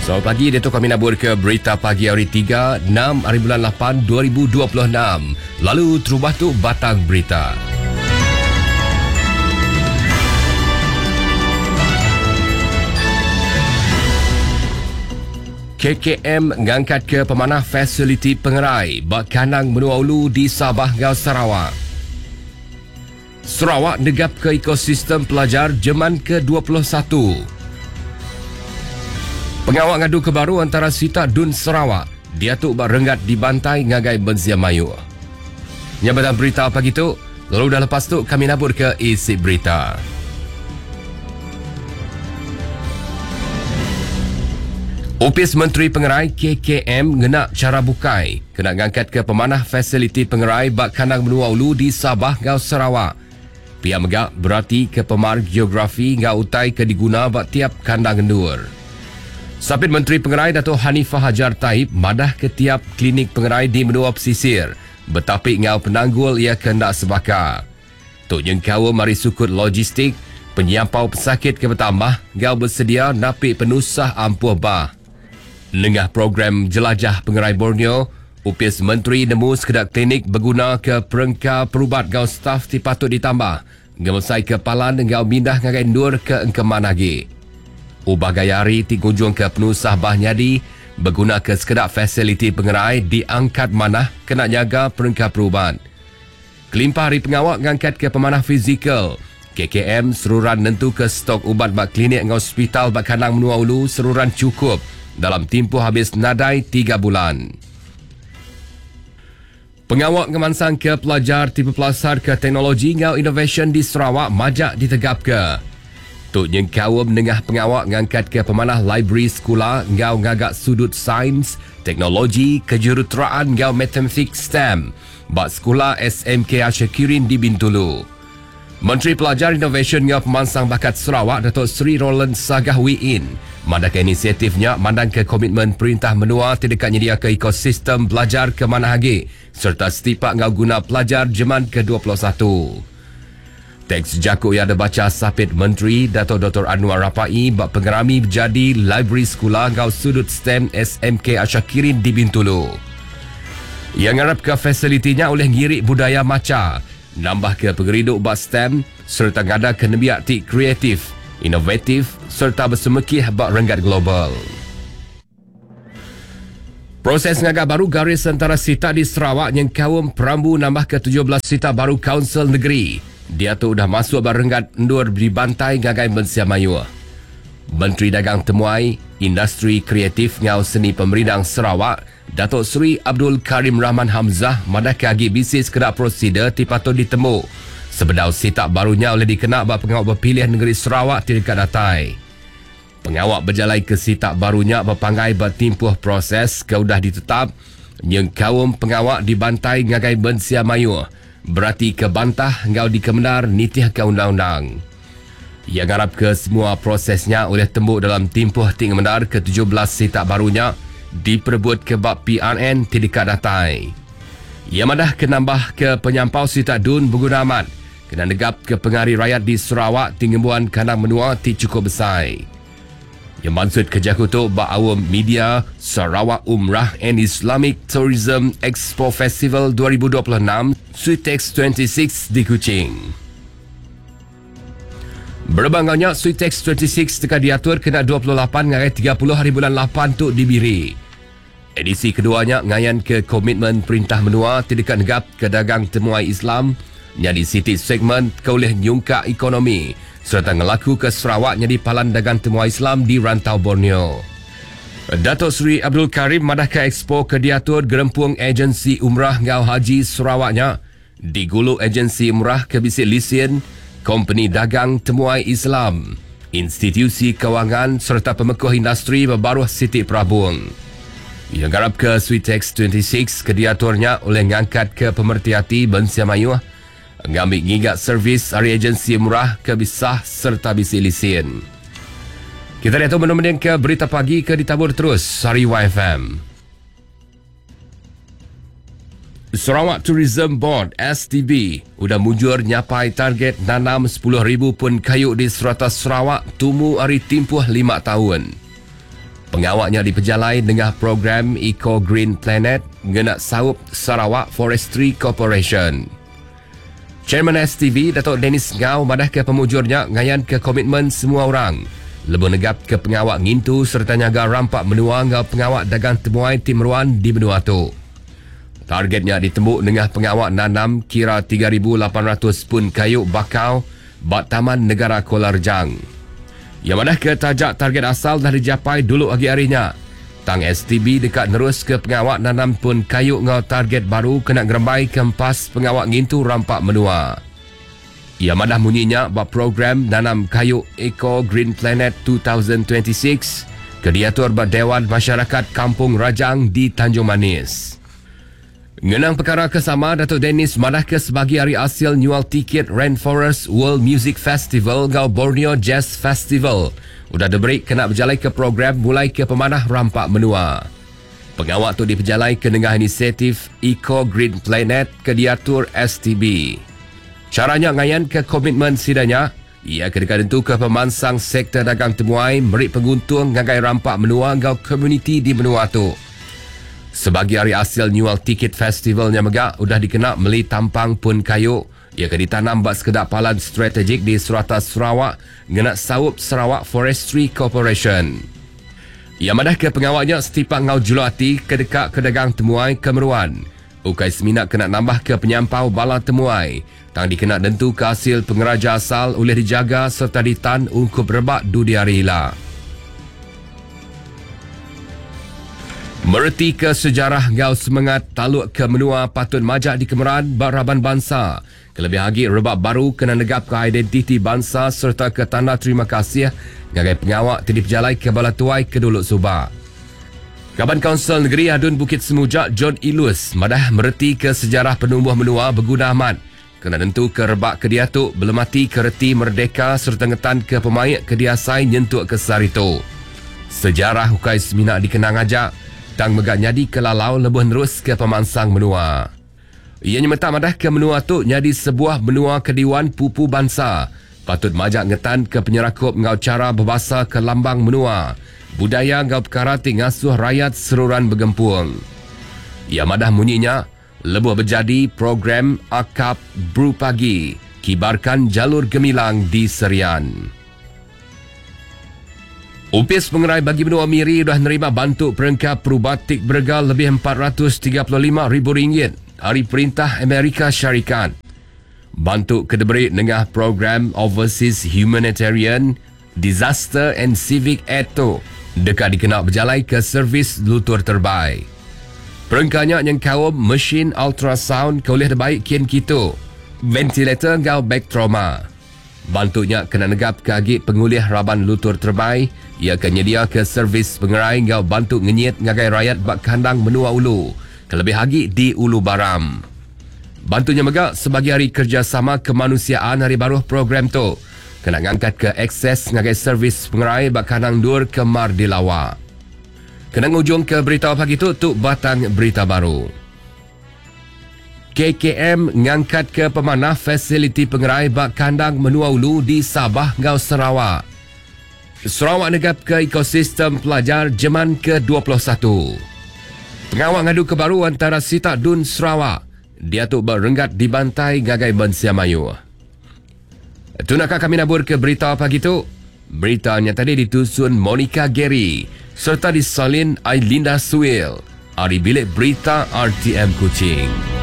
Selamat pagi, diatu kami nabur ke berita pagi hari 3, 6 hari bulan 8, 2026. Lalu terubah tu batang berita. KKM ngangkat ke pemanah fasiliti pengerai ba kandang menua ulu di Sabah enggau Sarawak. Sarawak negap ke ekosistem pelajar jeman ke-21. Pengawa ngadu ke baru antara sitak Dun Sarawak diatu ba renggat dibantai ngagai mensia mayuh. Nya batang berita pagi tu, lalu udah lepas tu kami nabur ke isi berita. Opis Menteri Pengerai KKM ngena chara bukai kena ngangkatka pemanah fasiliti pengerai ba kandang menua ulu di Sabah enggau Sarawak. Pia mega beratika pemar geografi enggau utai ke diguna ba tiap kandang endur. Sapit Menteri Pengerai Datuk Hanifah Hajar Taib madahka tiap klinik pengerai di menua pesisir betapi enggau penanggul iya ke enda sebaka. Tu nyengkaum ari sukut logistik, penyampau pesakit ke betambah enggau besedia napi penusah ampuh bah. Nengah program Jelajah Pengerai Borneo, Opis Menteri nemu sekeda klinik begunaka perengka perubat enggau staf ti patut ditambah ngemesaika palan enggau mindah ngagai endur ke engkeman agi. Ubah gaya hari ti ngujungka penusah bah nyadi begunaka sekeda fasiliti pengerai diangkat manah kena nyaga perengka perubat. Kelimpah ari pengawa ngangkatka pemanah fizikal, KKM seruran nentuka stok ubat ba klinik enggau sepital ba kandang menua ulu seruran chukup dalam timpuh abis nadai tiga bulan. Pengawa ngemansangka pelajar ti bepelasarka teknologi enggau inovasyen di Sarawak majak ditegapka. Tu nyengkaum nengah pengawa ngangkatka pemanah librari sekula enggau ngaga sudut sains, teknologi, kejuruteraan enggau matematik STEM ba sekula SMK Ashakirin di Bintulu. Menteri Pelajar, Inovasyen enggau Pemansang Bakat Sarawak Dato Sri Roland Sagah Wee Inn madahka inisiatif nya mandangka komitmen perintah menua ti deka nyediaka ekosistem belajar ke manah agi sereta setipak enggau guna pelajar jeman ke 21. Teks jaku iya dibacha Sapit Menteri Dato Doktor Annuar Rapaee ba pengerami bejadi Librari Sekula enggau Sudut STEM SMK Ashakirin di Bintulu. Iya ngarapka fasiliti nya ulih ngiri budaya macha, nambahka pengerindu ba STEM sereta ngadaka nembiak ti kreatif, inovatif sereta besemekih ba renggat global. Proses ngaga baru garis entara sitak di Sarawak nyengkaum perambu nambahka 17 sitak baru Kaunsil Negeri diatu udah masuk ba renggat endur dibantai ngagai mensia mayuh. Menteri Dagang Temuai, Industri Kreatif enggau Seni Pemerindang Sarawak, Datuk Seri Abdul Karim Rahman Hamzah madahka agi bisi sekeda prosedur ti patut ditemu sebedau sitak baru nya ulih dikena ba pengawa bepilih nengeri Sarawak ti deka datai. Pengawa bejalai ke sitak baru nya bepanggai ba timpuh proses ke udah ditetap nyengkaum pengawa dibantai ngagai mensia mayuh beratika bantah enggau dikemendar nitihka undang-undang. Iya ngarapka semua proses nya ulih tembu dalam timpuh ti ngemendar ke 17 sitak baru nya diperebutka ba PRN ti deka datai. Iya madahka nambahka penyampau sitak dun beguna amat Kena negapka pengari rayat di Sarawak ti ngembuan kandang menua ti chukup besai. Iya mansutka jaku tu ba aum media Sarawak Umrah and Islamic Tourism Expo Festival 2026 Suitex 26 di Kuching. Berebak enggau nya, Suitex 26 deka diatur kena 28 ngagai 30 hari bulan 8 tu di Miri. Edisi kedua nya ngayanka komitmen perintah menua ti deka negapka dagang temuai Islam nyadi siti segmen ke ulih nyungkak ekonomi sereta ngelakuka Sarawak nyadi palan dagang temuai Islam di rantau Borneo. Datuk Seri Abdul Karim madahka ekspo ke diatur Gerempung Agensi Umrah enggau Haji Sarawak nya digulu agensi umrah ke bisi lisin, kompeni dagang temuai Islam, institusi kewangan sereta pemekuh industri ba baruh siti perabung. Iya ngarapka Suitex 26 ke diatur nya ulih ngangkatka pemereti ati mensia mayuh ngambi ngiga servis ari agensi umrah ke bisah sereta bisi lisin. Kita diatu benung mendingka berita pagi ke ditabur terus ari YFM. Sarawak Tourism Board, STB, udah mujur nyapai target nanam 10,000 pun kayu di serata Sarawak tumu ari timpuh lima taun. Pengawa nya dipejalai nengah program Eco Green Planet ngena saup Sarawak Forestry Corporation. Chairman STV, Datuk Dennis Ngau madahka pemujur nya ngayanka komitmen semua orang lebuh negapka pengawa ngintu sereta nyaga rampa menua enggau pengawa dagang temuai ti meruan di menua tu. Target nya ditembu nengah pengawa nanam kira 3,800 pun kayu bakau ba Taman Negara Kuala Rejang. Iya madahka taja target asal dah dijapai dulu agi ari nya, tang STB deka neruska pengawa nanam pun kayu enggau target baru kena ngerembaika empas pengawa ngintu rampa menua. Iya madah munyi nya ba program Nanam Kayu Eco Green Planet 2026 ke diatur ba Dewan Masyarakat Kampung Rajang di Tanjung Manis. Ngenang pekara ke sama, Datuk Dennis madahka sebagi ari asil nyual tiket Rainforest World Music Festival enggau Borneo Jazz Festival udah diberi kena bejalaika program mulaika pemanah rampa menua. Pengawa tu dipejalaika nengah inisiatif Eco Green Planet ke diatur STB. Chara nya ngayanka komitmen sida nya, iya ke deka nentuka pemansang sektor dagang temuai meri penguntung ngagai rampa menua enggau komuniti di menua tu. Sebagi ari asil nyual tiket festival nya mega udah dikena meli tampang pun kayu iya ke ditanam ba sekeda palan strategik di serata Sarawak ngena saup Sarawak Forestry Corporation. Iya madahka pengawa nya setipak enggau juluk ati ke deka ke dagang temuai ke meruan ukai semina kena nambahka penyampau bala temuai tang dikena nentuka asil pengeraja asal ulih dijaga sereta ditan ungkup rebak dudi hari ila. Meretika sejarah enggau semengat taluk ke menua patut majak dikemeran ba raban bansa, kelebih agi rebak baru kena negapka identiti bansa sereta ke tanda terima kasih ngagai pengawa ti dipejalaika bala tuai ke dulu suba. Kaban Kaunsil Negeri Adun Bukit Semuja John Ilus madah meretika sejarah penumbuh menua beguna amat kena nentuka rebak ke diatu belematika reti merdeka sereta ngetanka pemaik ke diasai nyentuk ke sehari tu. Sejarah ukai semina dikenang aja tang mega nyadika lalau lebuh neruska pemansang menua. Iya nyemetak madahka menua tu nyadi sebuah menua ke diuan pupu bansa patut majak ngetanka penyerakup enggau chara bebasaka lambang menua, budaya enggau pekara ti ngasuh rayat seruran begempung. Iya madah munyi nya lebuh bejadi program Akap Brew Pagi Kibarkan Jalur Gemilang di Serian. Opis Pengerai Bagi Menua Miri udah nerima bantu perengka perubat ti berega lebih 435,000 ringgit ari Perintah Amerika Syarikat. Bantu ke diberi nengah program Overseas Humanitarian, Disaster and Civic Aid tu deka dikena bejalaika servis lutur terbai. Perengka nya nyengkaum mesin ultrasound ke ulih dibai kin kitu, ventilator enggau beg trauma. Bantu nya kena negapka agi pengulih raban lutur terbai iya ke nyediaka servis pengerai enggau bantu ngenyit ngagai rayat ba kandang menua ulu kelebih agi di Ulu Baram. Bantu nya mega sebagi ari kerejasama kemanusiaan ari baruh program tu kena ngangkatka akses ngagai servis pengerai ba kandang endur ke mar dilawa. Kena ngujungka berita pagi tu, tu batang berita baru. KKM ngangkatka pemanah fasiliti pengerai ba kandang menua ulu di Sabah enggau Sarawak. Sarawak negapka ekosistem pelajar jeman ke 21. Pengawa ngaduka baru antara sitak Dun Sarawak diatu ba renggat dibantai ngagai mensia mayuh. Tu naka kami naburka berita pagi tu. Berita nya tadi ditusun Monica Gary sereta disalin Ailinda Suil ari Bilik Berita RTM Kuching.